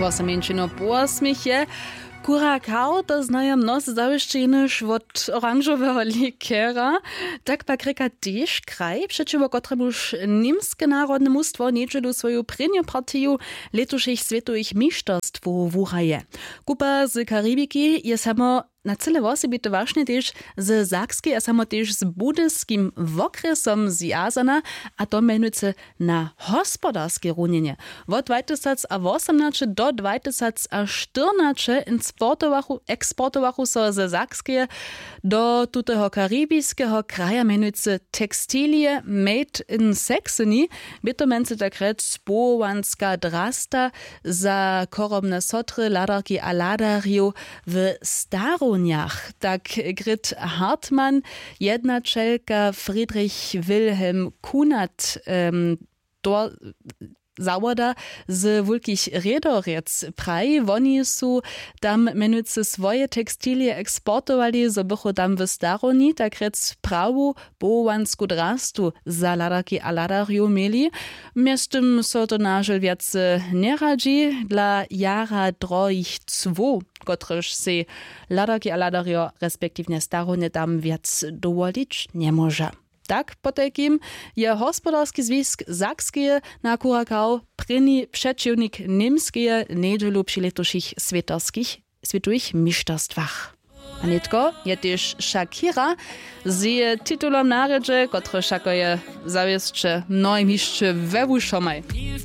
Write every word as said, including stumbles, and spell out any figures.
Woseminčino po wosměch je. Kura kao to znajo mnozy zawěsće jenož wot oranžoweho likera. Tak pak rěka tež kraj přećiwo kotremuž němske narodne mustwo njedźelu swoju prěnju partiju lětušich swětowych mišterstwow wuhraje. Kupa z karibiki je samo na cyle wosebite wašnje tež ze sakskeje a samo tež z budyskim wokrjesom zwjazana, a to mjenujcy na hospodarskej runjenje. Wot dwajtysacawosomnaće do dwajtysacaštyrnaće eksportowachu so ze sakskeje do tuteho karibiskeho kraja mjenujcy tekstilije made in saxony. Bě to mjenujcy tak rjec powołanska drasta za chorobne sotry, hladarki a hladarjow w starownjach. Tak grit hartmann, jednaćelka friedrich wilhelm kunat, to zawoda z wulkich rědorjec praji, woni su tam mjenujcy swoje tekstilije eksportowali, zo bychu tam w starownji tak rjec prawu powołansku drastu za hladarki a hladarjow měli. Mjeztym so to nažel wjace njeradźi dla jara drohich cłow, kotryž sej hladarki a hladarjo respektiwnje starownje tam wjac dowolić njemóža. Tak potajkim je hospodarski zwisk sakskeje na kurakał prěni přećiwnik němskeje njedźelu při lětušich swětowych mišterstwach. A nětko je tež shakira z jeje titulom na rjedźe, kotryž wšako je zawěsće mnohim hišće we wušomaj.